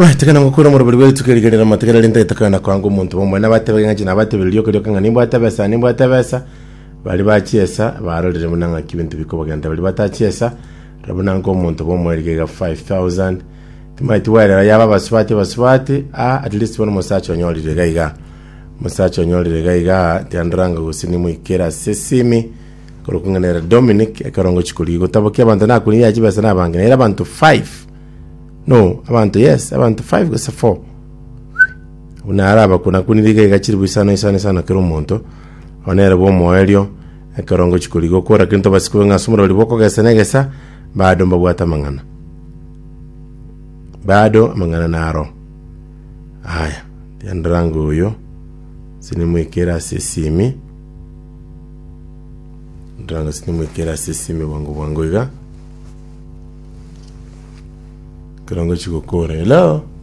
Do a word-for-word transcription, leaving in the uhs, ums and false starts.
Right, kana ngokura murobori bwetu kerigerera mategera rinde itakana kwanga omonto bomwe nabatebe ng'achi nabatebe rioka rioka ng'a nimbwate besa nimbwate besa bari bachiesa barorire buna ng'aki ebinto bikobagenda bari batachiesa rabuna nko omonto bomwe rigega five thousand timaiti werera yaba abasubati abasubati ah, at least bono omosacha onyorire iga iga omosacha onyorire iga iga tiandoranga gose nimoikera ase esimi korokung'anera Dominic ekerongo chikori gotabokia abanto nakuniria chibesa nabange nere abanto five no abantu yes abantu five gose four buna araba kuna kuniriga iga chiri isano isano isano kera omonto onere bwomoerio ekerongo chikori gokora kinto basikube ng'a ase omorori bokogesa negesa bado mbabwate amang'ana bado amang'ana naro aya tiandoranga oyo sinimwikera ase esimi ndoranga sinimwikera ase esimi bwango bwango iga ekerongo chigokora. Hello.